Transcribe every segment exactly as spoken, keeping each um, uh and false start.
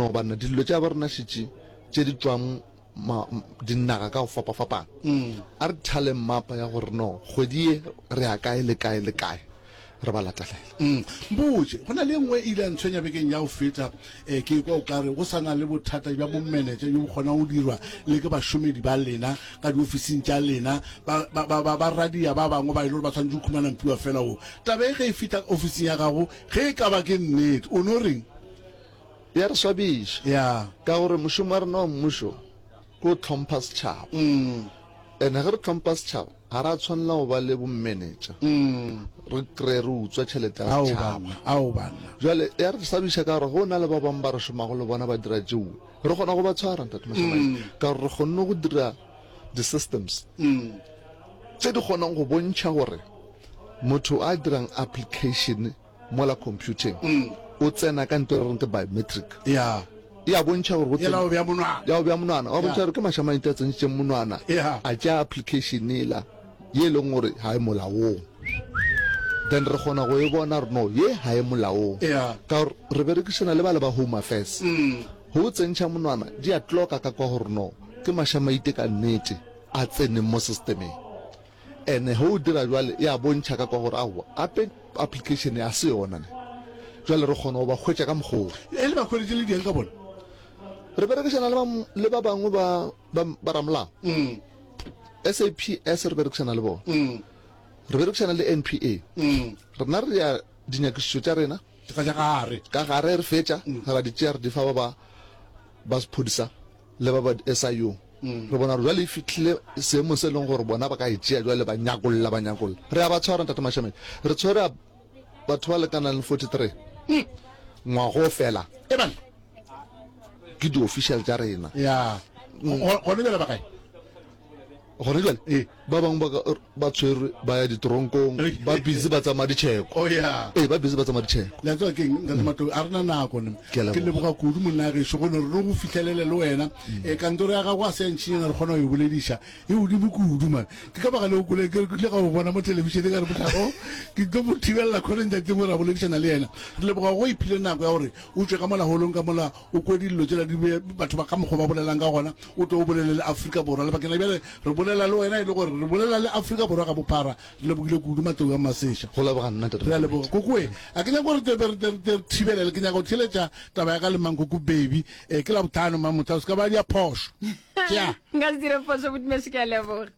No banna, dilo tša ba rena šetše tše di tšwang ma, dinaga ka go fapafapana. A re thale mmapa ya gore no kgwedi ye re ya kae le kae le kae, re ba latelela. Mm. Mpotše, go na le e nngwe e ile ya ntshwenya bekeng ya go feta, eh, ke kwa o ka re go sa na le bothata bja bomenetša bjo bo kgonang go dirwa le ke bašomedi ba lena ka diofising tša lena, ba, ba, ba, ba, ba radia ba bangwe ba e le gore ba swanetše go khumana mpiwa fela wo. Taba e ge e fihla ofising ya gago, ge e ka ba ke nnete, o no reng? Ya re swabiša. Ya. Ka gore mošomo wa rena wa mmušo ke go hlompha setšhaba. Mm. Ene ge re hlompha setšhaba, ga ra tshwanela go ba le bomenetša. Mm. Re kry-e re utswa tšhelete ya Ao setšhaba. banna, ao banna. Jwale ya re swabiša ka gore go na le ba bangwe ba re šomago le bona ba dira tšeo, re kgona go ba tshwara, Ntate Mashamaite, ka gore re kgonne go dira di-systems Mm. tše di kgonang go bontšha gore motho a dirang application mola computing o tsena ka nto e re reng ke biometric. Ya. E a bontšha gore go Yela o bea monwana. Ya o bea monwana. Wa bontšha gore ke Mashamaite a tsentšitšeng monwana. Ya. A tšea application yela ye e leng gore ga e molaong. Then re kgona go e bona gore no ye ga e molaong. Ya. Ka gore re berekišana le bale ba Home Affairs. Go o tsentšha monwana di a tloka ka kwa gore no ke Mashamaite ka nnete a tseneng mo systemeng. Ene ge o dira jwale e a bontšha ka kwa gore aowa ape application ya se yona ne. Jwale re kgona go ba hwetša ka mokgwa wo. E le ba hweditše le dieng ka bona? Re berekišana le ba, le ba bangwe ba, ba, ba ramolao. Mm. S A P S re berekišana le bona. Mm. Re berekišana le N P A. Mm. Rena re ya dinyakišišo tša rena. Ka tša gare. Ka gare re fetša, ra di tšea re di fa ba ba, ba sephodisa le ba ba S I U. Re bona gore jwale e fihlile seemong se e leng gore bona ba ka e tšea jwale ba nyakolla, ba nyakolla. Re a ba tshwara, Ntate Mashamedi. Re tshwere batho ba lekanang le forty-three ngwago fela. E banna. Ke di-official tša rena. Ya. Gone bjale ba kae? Gone jwale? Ee. Ba bangwe ba ka, ba tshwerwe ba ya ditoronkong, ba busy ba tsamaya ditšheko. Oh ya. Ee, ba busy ba tsamaya ditšheko. Le a tseba keng, Ntate Matlou, a re na nako ne. Ke a Ke leboga. leboga kudu monna gešo go no re re go fihlelele le wena. Eh, kantoro ya gago a se ya ntšhinyana re kgona go e bolediša. E godimo kudu man. Ke ka baka leo kole ke ile ka go bona mo thelebišeneng ka re mohlako ke tlo mo thibelela khoneng tšatšing gore a boledišana le yena. Re leboga go iphile nako ya gore o tšwe ka mola holong ka mola o kwe dillo tšela di be batho ba ka mokgwa ba bolelang ka gona, o tlo o bolele le Afrika Borwa. Lebakeng la bjale re bolela le wena e le gore re bolela le Afrika Borwa ka bophara. Re lebogile kudu Matlou a Maseša. Go leboga nna, Ntate Re a leboga. Kokoe, a ke nyake gore re re re thibelele, ke nyaka go theeletša taba ya ka le Mankoko Baby. Eh, ke Labohlano, Mamotla, o se ka ba dia phošo. Tšea. Nka se dire phošo, Botmešo, ke a leboga.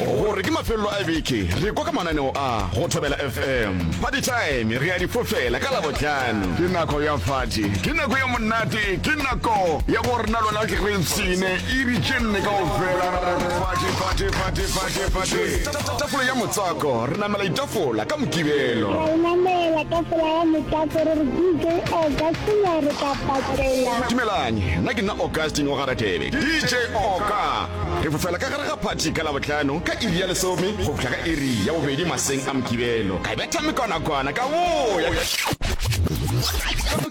Gore ke mafelelo a beke, re kwa ka mananeo a go Thobela F M. Party time re a di fofela ka Labohlano. Ke nako ya party, ke nako ya monate, ke nako ya gore nna le wena re ipshine iri tše nne kaofela. Party, party, party, party, party. Tafola ya motswako, re namela ditafola ka Mokibelo. Ra e namela tafola ya motswako re re D J Augustine re tla patela. Dumelang, nna ke nna Augustine wa ga Radebe, D J Oka. Re fofela ka gare ga phathi ka Labohlano ka iri ya lesome go fihla ka iri ya bobedi maseng a Mokibelo. Ka betha mekwanakwana ka boya.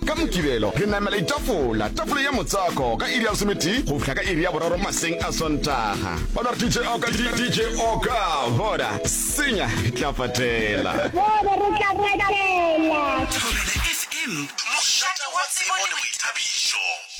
Ka Mokibelo re namela ditafola, tafola ya motswako ka iri ya lesometee go fihla ka iri ya boraro maseng a Sontaga. Ba no re D J Oka, D J Oka, bona, senya, re tla patela. Bona, re tla patela. Thobela F M, mošate wa tsebo le boithabišo.